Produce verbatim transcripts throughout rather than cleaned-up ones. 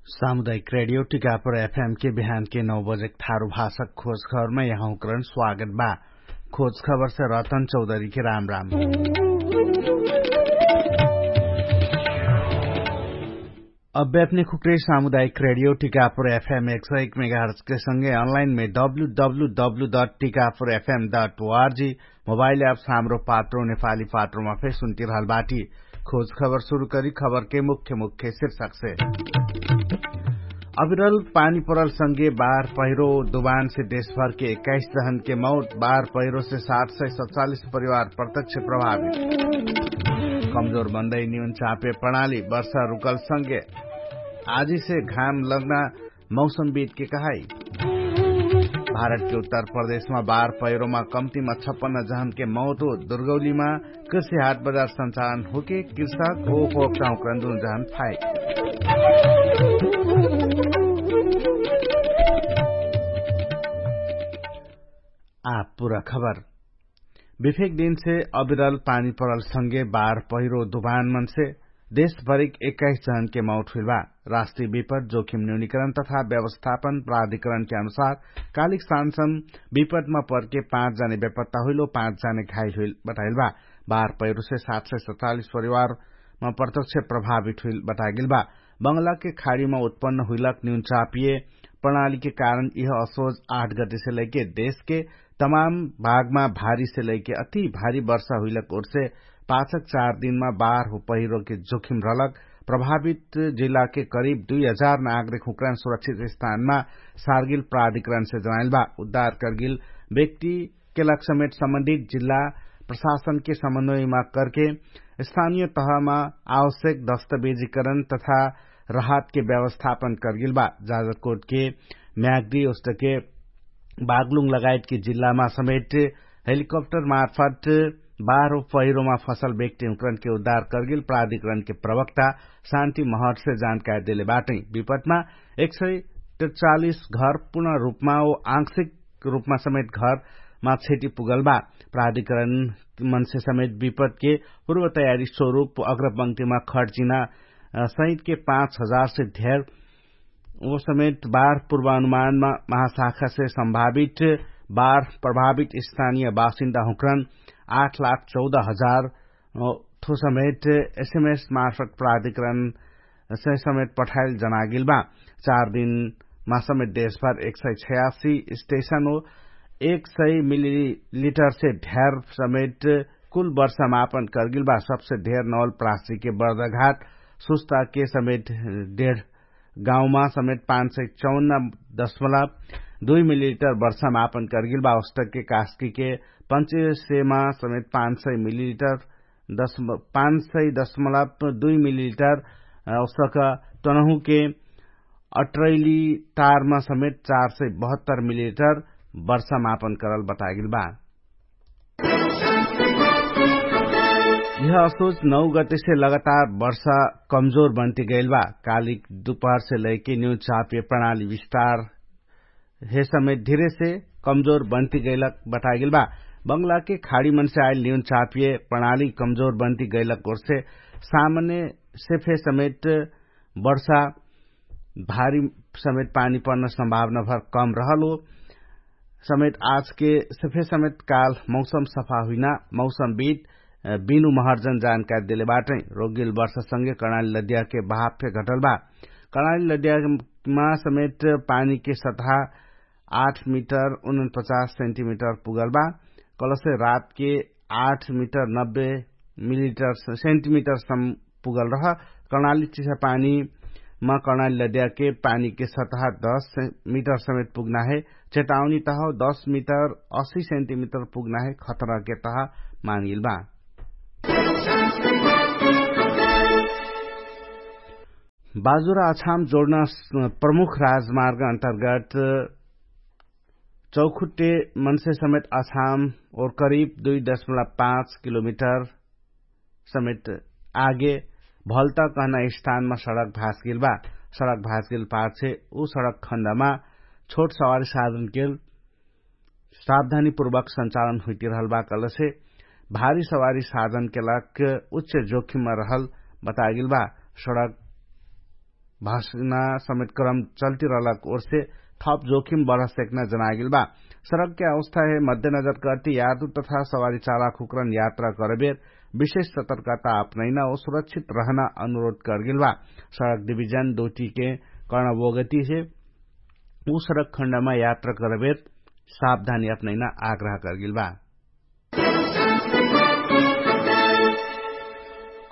सामुदायिक रेडियो टिकापुर एफएम के बिहान के नौ बजेक थारु भाषक खोज खबरमा यहाँकरण स्वागत बा। खोज खबर से रतन चौधरी के राम राम। अब्बे अपने खुक्रे सामुदायिक रेडियो टिकापुर एफएम एक सौ एक मेगाहर्ज के संगे अनलाइन में W W W dot Tikapur FM dot O R G mobile app Hamro Patro Nepali पात्रोमा फेर सुन्तिरहल बाटी। खोज खबर सुरु करी खबर के मुख्य मुख्य शीर्षक से। अविरल पानी परल संगे बार पहिरो दुबान से देशभर के एक्काइस जहन के मौत, बार पहिरो से सात सय सतचालिस परिवार प्रत्यक्ष प्रभावित। कमजोर बन्दै निउन चापे प्रणाली वर्षा रुकल संगे आजी से घाम लग्ना मौसमविद के कहाई। भारत के उत्तर प्रदेशमा बार पहिरोमा कम्तीमा छप्पन्न जहन के मौत हो दुर्गौलीमा कृषि हाट बजार संचालन होके कृषक ओ खोप चाहुकरण दुनु जहन फाइट। आ पुरा खबर। विफेक दिनसे अविरल पानी परल संगे बार पहिरो दुबान मनसे देशभरिक एक्काइस जहन के मौत हुइल बा। राष्ट्रिय विपद जोखिम न्यूनिकरण तथा व्यवस्थापन प्राधिकरण के अनुसार कालिक सान्सन विपदमा परके पाँच जने बेपत्ता हुइल ओ पाँच जने घाइल हुइल बताइल बा। बार पहिरोसे सात सय सतचालिस परिवारमा प्रत्यक्ष प्रभावित हुइल बताइल बा। बंगला के खाडीमा उत्पन्न हुइलक न्यून चापिए प्रणाली के कारण यह असोज आठ गतिसे लैके देश के तमाम भागमा भारीसे लैके अति भारी वर्षा हुइलक ओरसे पाछक चार दिनमा बार हो पहिरो के जोखिम रहलक। प्रभावित जिल्ला के करिब दुई हजार नागरिक हुक्रान सुरक्षित स्थानमा सार्गिल प्राधिकरण से जनाइल बा। उद्धार कर्गिल व्यक्ति केलाक समेत सम्बन्धित जिल्ला प्रशासन के समन्वयमा करके स्थानिय तहमा आवश्यक दस्तावेजीकरण तथा राहत के व्यवस्थापन कर्गिल बा। जाजरकोट के म्याग्दी ओस्तके बागलुङ लगायत के जिल्लामा समेत हेलिकप्टर मार्फत बाह्रो पहिरोमा फसल व्यक्ति हुँकरण के उद्धार कर्गिल प्राधिकरण के प्रवक्ता शान्ति महर्ष जानकारी देले बाटै। विपदमा एक सय त्रिचालिस घर पूर्ण रूपमा ओ आंशिक रूपमा समेत घरमा क्षति पुगल बा। प्राधिकरण मनसे समेत विपद के पूर्व तयारी स्वरूप अग्रपंक्तिमा खर्चिना सहित के पाँच हजार से धेर ओ समेत बार पूर्वानुमानमा महाशाखा से सम्भावित बार प्रभावित स्थानिय बासिन्दा हुँकरण आठ लाख चौध हजार थो समेत एसएमएस मार्फत प्राधिकरण समेत पठाइल जनागिल बा। चार दिनमा समेत देशभर एक सय छयासी स्टेशन हो एक सय मिलिलिटर से ढेर समेत कुल वर्षा मापन कर्गिल बा। सबसे ढेर नौल प्रासी के बर्दघाट सुस्ता के समेत डेढ गाउँमा समेत पाँच सय चौन्न दशमलव दुई मिलिलिटर वर्षा मापन कर्गिल बा। औस्तक के कास्की के पञ्चेसेमा समेत पाँच सय मिलिलिटर पाँच सय दशमलव दुई मिलिलिटर औस्तक तनहुके अट्रैली तारमा समेत चार सय बहत्तर मिलिलिटर वर्षा मापन करल बतागिल बा। यह असोच नौ गतेसे लगातार वर्षा कमजोर बन्ति गैल बा। कालिक दुपहरसे लैके न्यू चापिय प्रणाली विस्तार हे समेत धिरेसे कमजोर बन्ति गैलक बतागेल बा। बंगलाके खाडी मनसे आइल न्यून चापिय प्रणाली कमजोर बन्ति गैलक ओरसे सामान्य सेफे समेत वर्षा भारी समेत पानी पर्न सम्भावना भर कम रहल हो। समेत आजके सेफे समेत काल मौसम सफा हुइना मौसम बित बिनु महर्जन जानकारी देले बाटै। रोगिल वर्षा संगे कर्णाली लद्याके भाप फे घटल बा। कर्णाली लद्यामा समेत पानीके सतहा आठ मिटर उनपचास सेन्टिमिटर पुगल बा। कलसे रातके आठ मिटर नब्बे मिलिटर सेन्टिमिटर सम पुगल रह। कर्णाली चिसा पानीमा कर्णाली लद्याके पानीके सतहा दस मिटर समेत पुग्ना हे। चेतावनी तह दस मिटर असी सेन्टिमिटर पुग्ना हे खतराके तह मानिल बा। बाजुरा अछाम जोड्न प्रमुख राजमार्ग अन्तर्गत चौखुट्टे मनसे समेत अछाम ओर करिब दुई दशमलव पाँच किलोमिटर समेत आगे भल्त कहना स्थानमा सडक भासगेल बा। सडक भासगेल पाछे उ सडक खण्डमा छोट सवारी साधनके सावधानीपूर्वक सञ्चालन हुइतिरहल बा कलसे भारी सवारी साधनके लाग उच्च जोखिममा रहल बतागेल बा। सडक भसना समेत क्रम चल्ती रहलक ओर्से थप जोखिम बढ सेक्ना जनागेल बा। सडकके अवस्थाहे मध्यनजर कर्ती यातु तथा सवारी चालक हुक्रन यात्रा करबेर विशेष सतर्कता अपनैना ओ सुरक्षित रहना अनुरोध करगेल बा। सडक डिभिजन दोटीके कर्णवोगतिसे उ सडक खण्डमा यात्रा करबेर सावधानी अपनैना आग्रह करगेल बा।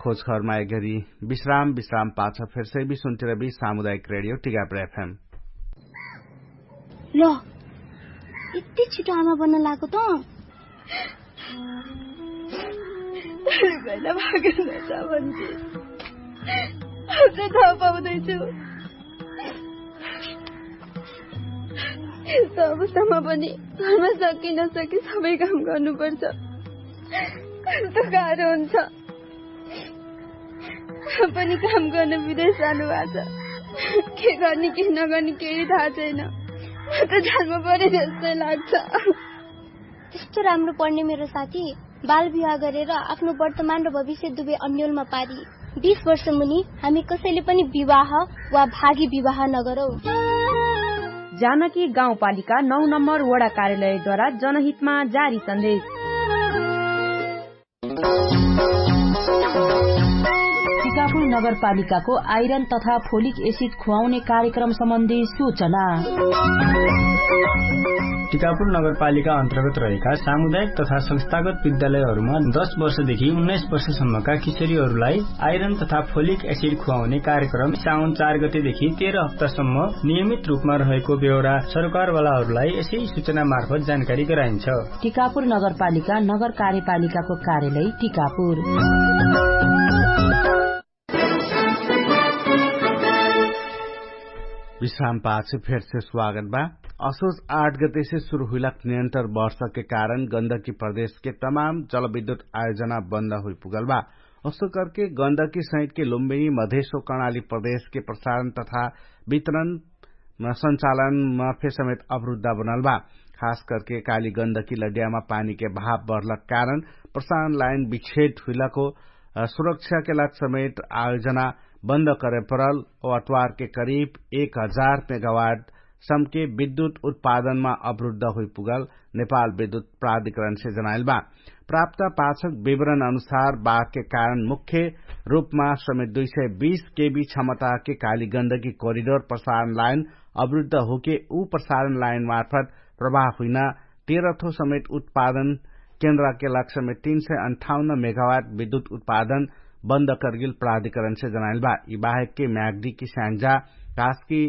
खोजखबरमा एघरी विश्राम विश्राम पाछ फेरसे विश्वन्तिरबी सामुदायिक रेडियो टिकापुर एफएम। ल, यति छिटो आमा बन्न लागो त। पहिला भागेर जान्छ भन्थे। अझै थाहा पाउँदैछु। यस्तो अवस्थामा पनि घरमा सकि नसकि सबै काम गर्नुपर्छ। कस्तो गाह्रो हुन्छ। पनि काम गर्न विदेश जानु भएको छ। के गर्ने के नगर्ने केही थाहा छैन। म त जान्नु पर्यो जस्तै लाग्छ। त्यस्तो राम्रो पढ्ने मेरो साथी बाल विवाह गरेर आफ्नो वर्तमान र भविष्य दुवै अन्यलमा पारी। बिस वर्ष मुनि हामी कसैले पनि विवाह वा भागी विवाह नगरौँ। जानकी गाउँपालिका नौ नम्बर वडा कार्यालयद्वारा जनहितमा जारी सन्देश। टिकापुर नगरपालिकाको आइरन तथा फोलिक एसिड खुवाउने कार्यक्रम सम्बन्धी सूचना। टिकापुर नगरपालिका अन्तर्गत रहेका सामुदायिक तथा संस्थागत विद्यालयहरूमा दस वर्षदेखि उन्नाइस वर्षसम्मका किशोरीहरूलाई आइरन तथा फोलिक एसिड खुवाउने कार्यक्रम साउन चार गतेदेखि तेह्र हप्तासम्म नियमित रूपमा रहेको बेहोरा सरकारवालाहरूलाई यसै सूचना मार्फत जानकारी गराइन्छ। टिकापुर नगरपालिका नगर कार्यपालिकाको कार्यालय टिकापुर। विश्राम पाछ फेरसे स्वागत बा। असोज आठ गतेसे सुरु हुइलक नियन्तर वर्षके कारण गन्दकी प्रदेशके तमाम जलविद्युत आयोजना बन्द हुइपुगल बा। ओस्तो करके गन्दकी सहितके लुम्बिनी मधेशो कर्णाली प्रदेशके प्रसारण तथा वितरण सञ्चालनमा फे समेत अवरुद्ध बनल बा। खास करके काली गन्दकी लड्यामा पानीके भाव बढलक कारण प्रसारण लाइन विच्छेद हुइलको सुरक्षाके लाग समेत आयोजना बन्द करे परल। अत्वारके करिब एक हजार मेगावाट सम्के विद्युत उत्पादनमा अवरुद्ध हुइपुगल नेपाल विद्युत प्राधिकरणसे जनाइल बा। प्राप्त पाछक विवरण अनुसार बाघके कारण मुख्य रूपमा समेत दुई सय बीस केबी क्षमताके काली गन्दगी कोरिडोर प्रसारण लाइन अवरुद्ध होके उ प्रसारण लाइन मार्फत प्रवाह हुइना तेह्रथो समेत उत्पादन केन्द्रके लाग समेत तीन सय अन्ठाउन्न मेगावाट विद्युत उत्पादन बन्द करगिल प्राधिकरणसे जनाइल बा। यि बाहेकके म्याग्दीकी स्याङ्जा घासकी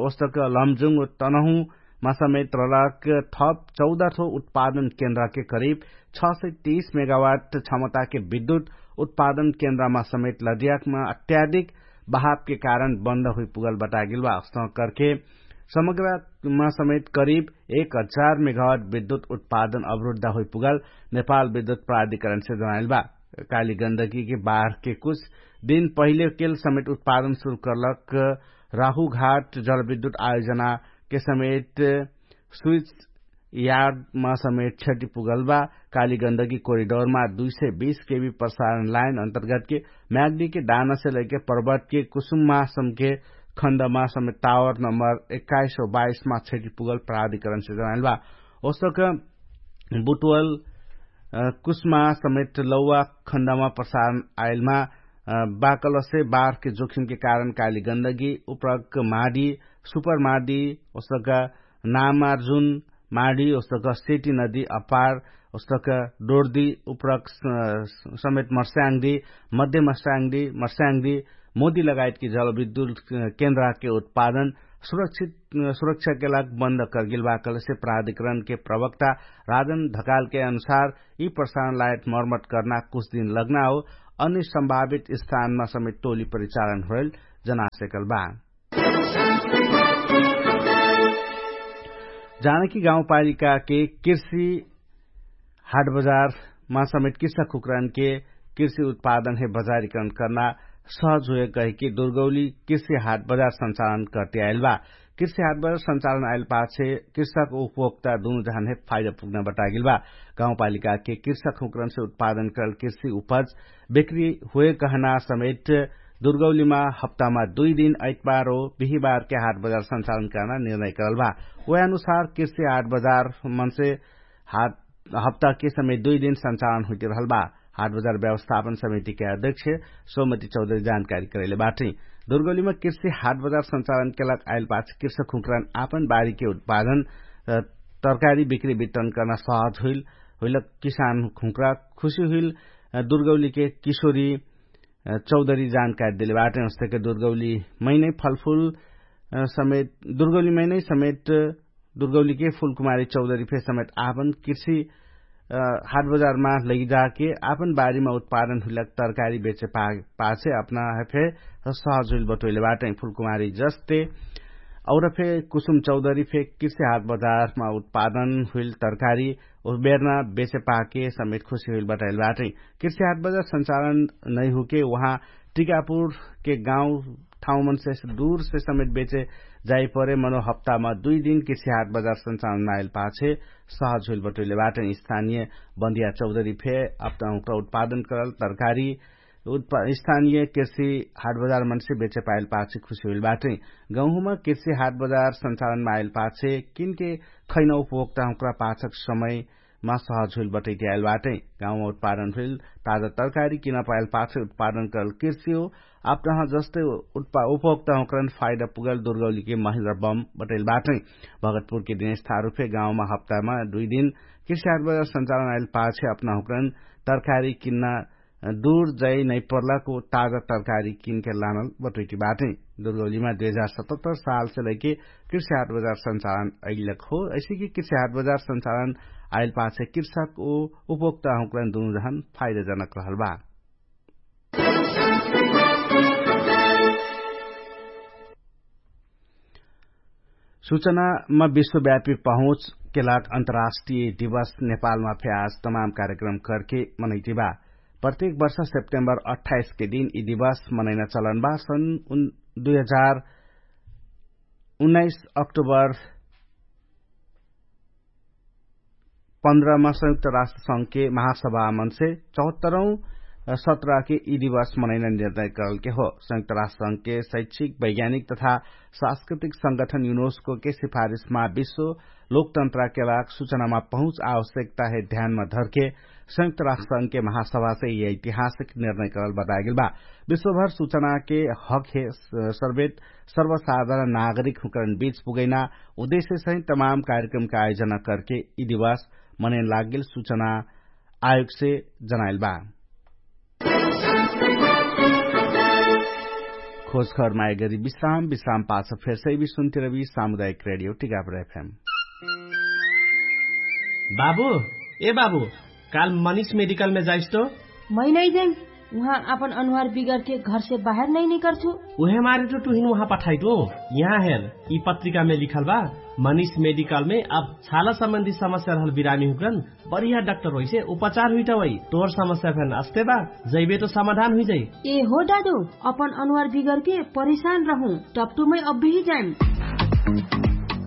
ओस्तक लमजुङ तनहुमा समेत रलक थप चौध थो उत्पादन केन्द्रके करिब छ सय तीस मेगावाट क्षमताके विद्युत उत्पादन केन्द्रमा समेत लड्याकमा अत्याधिक बहावके कारण बन्द हुइपुगल बतागिल बा। अस्तह करके समग्रमा समेत करिब एक हजार मेगावाट विद्युत उत्पादन अवरुद्ध हुइपुगल नेपाल विद्युत प्राधिकरणसे जनाइल बा। काली गन्दगीके बाहरके कुछ दिन पहिलेकेल समेत उत्पादन सुरु करलक राहुघाट जलविद्युत आयोजनाके समेत स्विच यार्डमा समेत क्षति पुगल बा। काली गन्दगी कोरिडोरमा दुई सय बीस केबी प्रसारण लाइन अन्तर्गतके म्याग्दीके दानासे लैके पर्वतके कुसुममा समके खण्डमा समेत टावर नम्बर एक्काइस सय बाइसमा क्षति पुगल प्राधिकरणसे जनाइल बा। ओसक बुटवल कुसमा समेत लौवा खण्डमा प्रसारण आइलमा बाकलसे बारके जोखिमके कारण काली गन्दगी उपरक माडी सुपर माडी ओसक नामार्जुन माडी ओसक सेटी नदी अपार ओसक डोर्दी उपरक समेत मर्स्याङ्दी मध्य मर्स्याङ्दी मर्स्याङ्दी मोदी लगायतकी जलविद्युत केन्द्रके उत्पादन सुरक्षाके लाग बन्द कर्गिल बाकलसे प्राधिकरणके प्रवक्ता राजन ढकालके अनुसार यि प्रसारण लायत मर्मत कर्ना कुछ दिन लग्ना हो। अनि सम्भावित स्थानमा समेत टोली परिचालन होइल जनासेकल बा। जानकी गाउँपालिकाके कृषि हाट बजारमा समेत कृषक हुक्रनके कृषि उत्पादन हे बजारीकरण कर्ना सहज हुए कहिके दुर्गौली कृषि हाट बजार सञ्चालन कर्ते आइल बा। कृषि हाट बजार सञ्चालन आइल पाछे कृषक उपभोक्ता दुनु जहान हे फाइदा पुग्न बतागिल बा। गाउँपालिकाके कृषक हुक्रनसे उत्पादन करल कृषि उपज बेक्री हुए कहना समेत दुर्गौलीमा हप्तामा दुई दिन ऐतबार हो बिहिबारके हाट बजार सञ्चालन कर्ना निर्णय करल भा। उहे अनुसार कृषि हाट बजार मनसे हप्ताके समेत दुई दिन सञ्चालन हुइटिरहल बा। हाट बजार व्यवस्थापन समितिके अध्यक्ष सोमति चौधरी जानकारी करैले बाटै। दुर्गौलीमा कृषि हाट बजार सञ्चालनके लाग आइल पाछ कृषक हुँक्रान आपन बारीके उत्पादन तरकारी बिक्री वितरण कर्ना सहज हुइल हुइल किसान हुँक्रा खुशी हुइल। दुर्गौलीके किशोरी चौधरी जानकारी देले बाटै। उस्तके दुर्गौली मैनै फलफुल समेत दुर्गौली मैनै समेत दुर्गौलीके फुलकुमारी चौधरी फे समेत आपन कृषि हाट बजारमा लैजाके आपन बारीमा उत्पादन हुइलक तरकारी बेचे पाछे अपना फे सहज हुइल बटोइले बाटै। फुलकुमारी जस्ते और फे कुसुम चौधरी फे कृषि हाट बजारमा उत्पादन हुइल तरकारी उस बेर्ना बेचे पाके समेत खुशी हुइल बटाइल बाटै। कृषि हाट बजार सञ्चालन नैहुके उहाँ टिकापुरके गाउँ ठाउँ मनसे दूरसे समेत बेचे जाइपरे मनो हप्तामा दुई दिन कृषि हाट बजार सञ्चालन नाइल पाछे सहज हुइल बटोइले बाटै। स्थानिय बन्दिया चौधरी फे अपना हुँक्रा उत्पादन करल तरकारी स्थानिय कृषि हाट बजार मनसे बेचे पाइल पाछे खुशी हुइल बाटै। गहुँमा कृषि हाट बजार सञ्चालनमा आइल पाछे किनके खैना उपभोक्ता हुँक्रा पाछक समयमा सहज हुइल बटैति आइल बाटै। गाउँमा उत्पादन हुइल ताजा तरकारी किन पाइल पाछे उत्पादन करल कृषि हो अपना जस्तै उपभोक्ता हुँक्रन फाइदा पुगल दुर्गौलीके महिन्द्र बम बटैल बाटै। भगतपुरके दिनेश थारुफे गाउँमा हप्तामा दुई दिन कृषि हाट बजार सञ्चालन आइल पाछे अपना हुँक्रन तरकारी किन्ना दूर जै नैपर्लाको ताजा तरकारी किनके लानल बटोइटी बाटै। दुर्गौलीमा दुई हजार सतहत्तर सालसे लैके कृषि हाट बजार सञ्चालन अइलक हो। ऐसेकि कृषि हाट बजार सञ्चालन आइल पाछे कृषक ओ उपभोक्ता हुँक्रन दुनु जहन फाइदाजनक रहल बा। सूचनामा विश्वव्यापी पहुँचके लाग अन्तर्राष्ट्रिय दिवस नेपालमा फे आज तमाम कार्यक्रम करके मनैतिबा। प्रत्येक वर्ष सेप्टेम्बर अट्ठाइसके दिन यी दिवस मनैना चलन बा। सन् दुई हजार उन्नाइस अक्टोबर पन्ध्रमा संयुक्त राष्ट्र संघके महासभा मनसे चौहत्तरौं सत्रके यी दिवस मनैना निर्णय करलके हो। संयुक्त राष्ट्र संघके शैक्षिक वैज्ञानिक तथा सांस्कृतिक संगठन युनोस्कोके सिफारिसमा विश्व लोकतन्त्रके लाग सूचनामा पहुँच आवश्यकता हे ध्यानमा धरके संयुक्त राष्ट्र संघके महासभासे यी ऐतिहासिक निर्णय करल बतागेल बा। विश्वभर सूचनाके हक हे सर्वेत सर्वसाधारण नागरिक हुँकरण बीच पुगैना उद्देश्य सहित तमाम कार्यक्रमके आयोजना करके यी दिवस मनैन लागेल सूचना आयोगसे जनाइल बा। खोजखर मायगरी विश्राम विश्राम पाछ फेरसै भी सुन्तिरबी सामुदायिक रेडियो टिकापुर एफएम। बाबु, ए बाबु, काल मनिष मेडिकलमे जाइस तो? मै नै जाइम। उहाँ आपन अनुहार बिगरके घरसे बाहेर नै निकर्छु। उहे मारे तो टुहिन उहाँ पठाइटु। यहाँ हेर, यी पत्रिकामे लिखल बा, मनिष मेडिकलमे अब छाला सम्बन्धी समस्या रहल बिरामी हुकरन बढिया डाक्टर होइसे उपचार हुइटा वै। तोर समस्या फेन अस्ते बा, जैबे तो समाधान हुइजाइ। ए हो डाडु, अपन अनुहार बिगरके परिशान रहु, टपटुमै अब्बेही जाइम।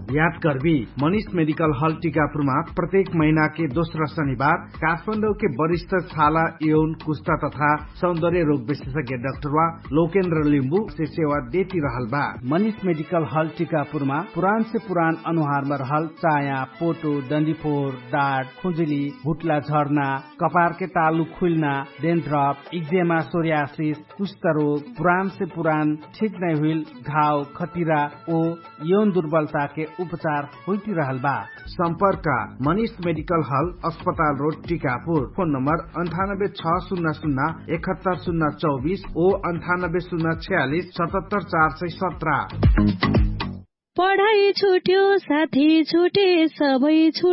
याद करबी, मनिष मेडिकल हल टिकापुरमा प्रत्येक महिनाके दोस्रा शनिबार काठमाडौके वरिष्ठ छाला यौन कुस्ता तथा सौन्दर्य रोग विशेषज्ञ डाक्टरवा लोकेन्द्र लिम्बुसे सेवा देति रहल बा। मनिष मेडिकल हल टिकापुरमा पुरानसे पुरान अनुहारमा रहल चाया, पोटो, डन्डीफोर, डाट, खुजुली, हुट्ला झर्ना, कपारके तालु खुइल्ना, डेन्ड्रप, इक्जेमा, सोर्यासिस, कुष्ठरोग, पुरानसे पुरान ठिक नै हुइल घाव, खटिरा ओ यौन दुर्बलताके उपचार हुइटिरहल बा। सम्पर्क, मनिष मेडिकल हल, अस्पताल रोड, टिकापुर। फोन नम्बर अन्ठानब्बे छ सुन्ना सुन्ना एकहत्तर सुन्ना चौबिस ओ अन्ठानब्बे सुन्ना छयालिस सतहत्तर चार सय सत्र। पढाइ छुट्यो, साथी छुटे, सबै छुट्यो।